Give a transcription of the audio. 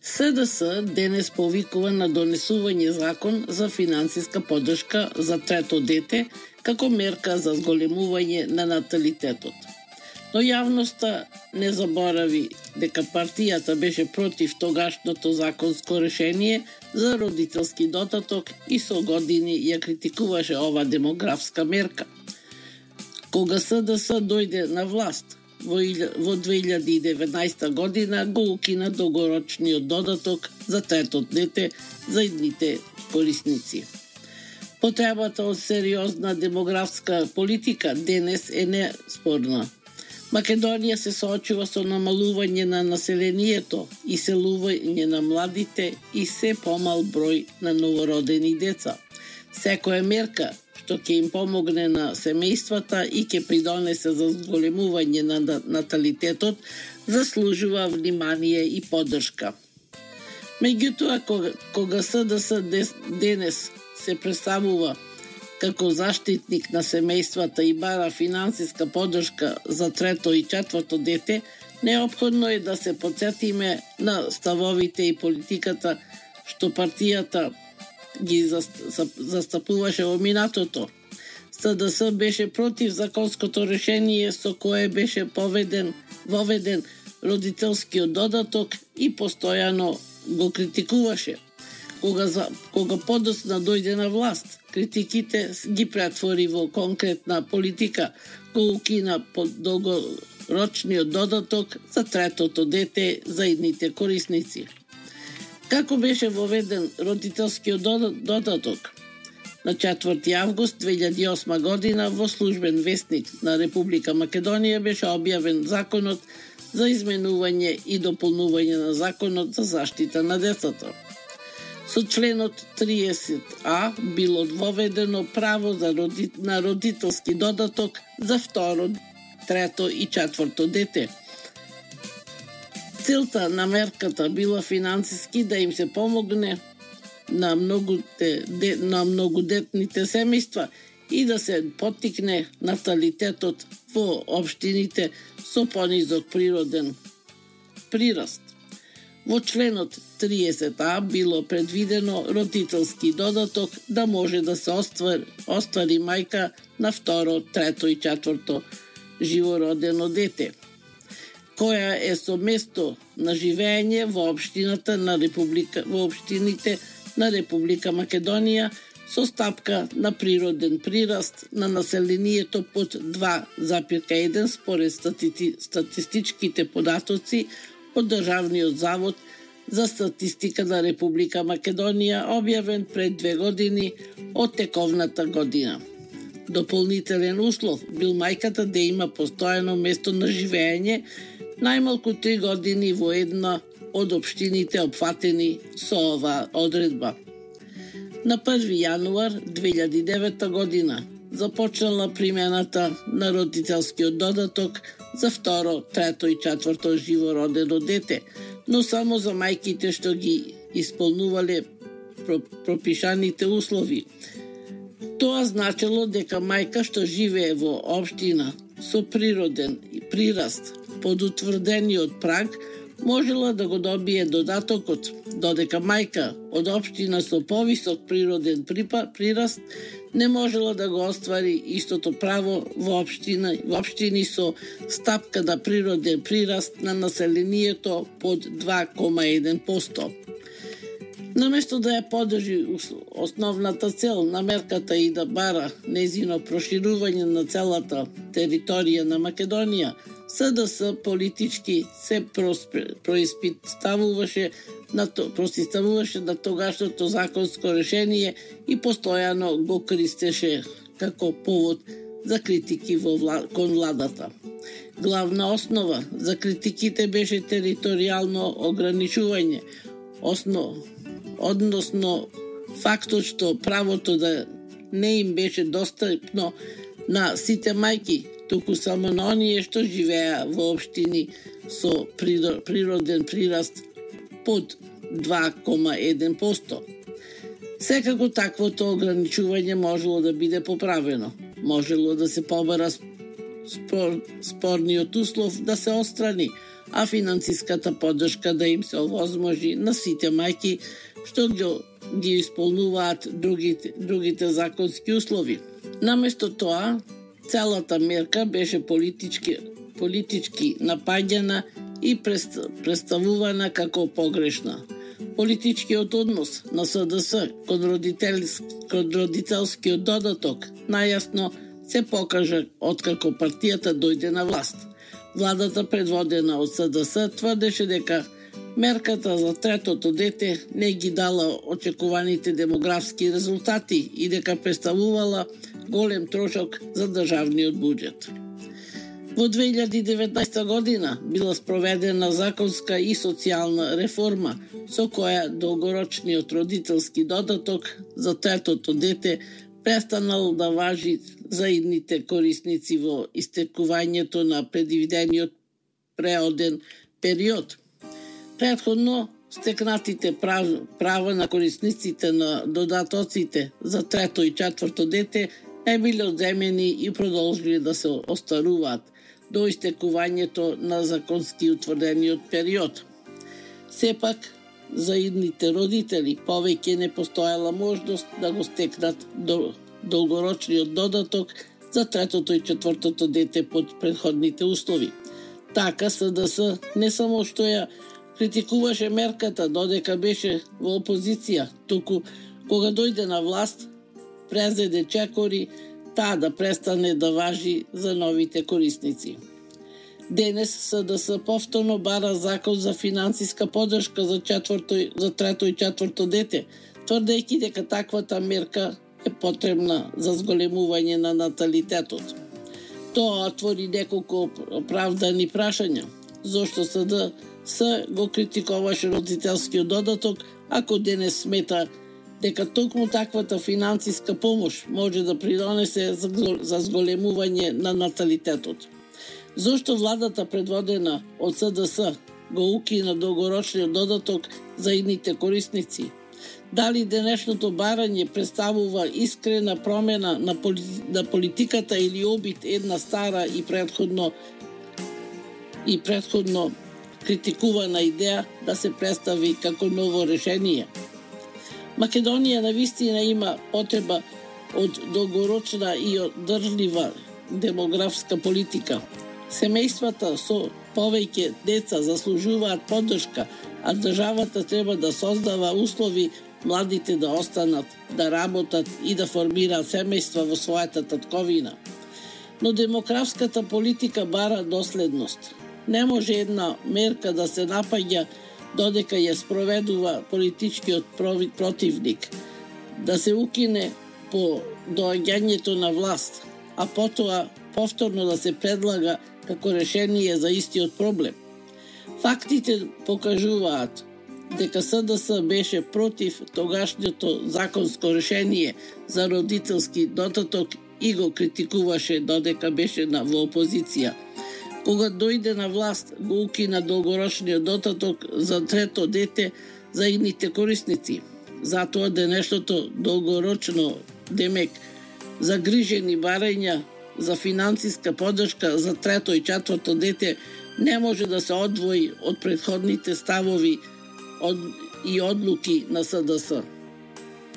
СДС денес повикува на донесување закон за финансиска поддршка за трето дете како мерка за зголемување на наталитетот. Но јавноста не заборави дека партијата беше против тогашното законско решение за родителски додаток и со години ја критикуваше ова демографска мерка. Кога СДС дојде на власт во 2019 година, го укина долгорочниот додаток за трето дете за идните корисници. Потребата од сериозна демографска политика денес е неспорна. Македонија се соочува со намалување на населението, иселување на младите и се помал број на новородени деца. Секоја мерка што ќе им помогне на семејствата и ќе придонесе за зголемување на наталитетот, заслужува внимание и поддршка. Меѓутоа, кога СДС денес се представува како заштитник на семејствата и бара финансиска поддршка за трето и четврто дете, неопходно е да се потсетиме на ставовите и политиката што партијата ги застапуваше во минатото. СДС беше против законското решение со кое беше воведен родителскиот додаток и постојано го критикуваше. Кога подоцна дојде на власт, критиките ги претвори во конкретна политика, го укина долгорочниот додаток за третото дете за идните корисници. Како беше воведен родителскиот додаток? На 4 август 2008 година во службен вестник на Република Македонија беше објавен законот за изменување и дополнување на законот за заштита на децата. Со членот 30А било воведено право на родителски додаток за второ, трето и четврто дете. Целта на мерката била финансиски да им се помогне на многодетните семејства и да се поттикне наталитетот во општините со понизок природен прираст. Во членот 30А било предвидено родителски додаток да може да се оствари мајка на второ, трето и четврто живородено дете, која е со место на живење во општините на Република Македонија со стапка на природен прираст на населението под 2,1 според статистичките податоци од Државниот завод за статистика на Република Македонија, објавен пред 2 години од тековната година. Дополнителен услов бил мајката да има постојано место на живење најмалку 3 години во една од општините опфатени со оваа одредба. На 1 јануар 2009 година започнала примената на родителскиот додаток за второ, трето и четврто живородено дете, но само за мајките што ги исполнувале пропишаните услови. Тоа значело дека мајка што живее во општина со природен прираст под утврдениот праг можела да го добие додатокот, додека мајка од општина со повисок природен прираст не можела да го оствари истото право во општини со стапка на природен прираст на населението под 2,1%. Наместо да ја поддржи основната цел на мерката и да бара незино проширување на целата територија на Македонија, СДС политички се противставуваше на тогашното законско решение и постојано го користеше како повод за критики кон владата. Главна основа за критиките беше територијално ограничување, односно фактот што правото да не им беше достапно на сите мајки, туку само на оние што живеа во општини со природен прираст под 2,1%. Секако таквото ограничување можело да биде поправено. Можело да се побара спорниот услов да се отстрани, а финансиската поддршка да им се овозможи на сите мајки што ги исполнуваат другите законски услови. Наместо тоа, целата мерка беше политички напаѓана и представувана како погрешна. Политичкиот однос на СДС кон родителскиот додаток најасно се покажа откако партијата дојде на власт. Владата предводена од СДС тврдеше дека мерката за третото дете не ги дала очекуваните демографски резултати и дека представувала голем трошок за државниот буџет. Во 2019 година била спроведена законска и социјална реформа со која долгорочниот родителски додаток за третото дете престанал да важи за идните корисници во истекувањето на предвидениот преоден период. Претходно стекнатите права на корисниците на додатоците за трето и четврто дете не биле одземени и продолжили да се остаруваат до истекувањето на законски утврдениот период. Сепак, за идните родители повеќе не постоела можност да го стекнат долгорочниот додаток за третото и четвртото дете под предходните услови. Така СДС не само што ја критикуваше мерката додека беше во опозиција, туку кога дојде на власт, презеде чекори таа да престане да важи за новите корисници. Денес СДС повторно бара закон за финансиска поддршка за трето и четврто дете, тврдејќи дека таквата мерка е потребна за зголемување на наталитетот. Тоа отвори неколку оправдани прашања. Зошто СДС го критикуваше родителскиот додаток, ако денес смета дека токму таквата финансиска помош може да придонесе за зголемување на наталитетот? Зошто владата предводена од СДС го укина долгорочниот додаток за идните корисници? Дали денешното барање представува искрена промена на политиката или обид една стара и претходно критикувана идеја да се представи како ново решение? Македонија навистина има потреба од долгорочна и одржлива демографска политика. Семејствата со повеќе деца заслужуваат поддршка, а државата треба да создава услови младите да останат, да работат и да формираат семејства во својата татковина. Но демографската политика бара доследност. Не може една мерка да се напаѓа додека ја спроведува политичкиот противник, да се укине по доаѓањето на власт, а потоа повторно да се предлага како решение за истиот проблем. Фактите покажуваат дека СДС беше против тогашното законско решение за родителски додаток и го критикуваше додека беше во опозиција. Кога дојде на власт, го укина долгорочниот додаток за трето дете за идните корисници. Затоа денешното долгорочно, демек, загрижени барања за финансиска поддршка за трето и четврто дете не може да се одвои од претходните ставови и одлуки на СДС.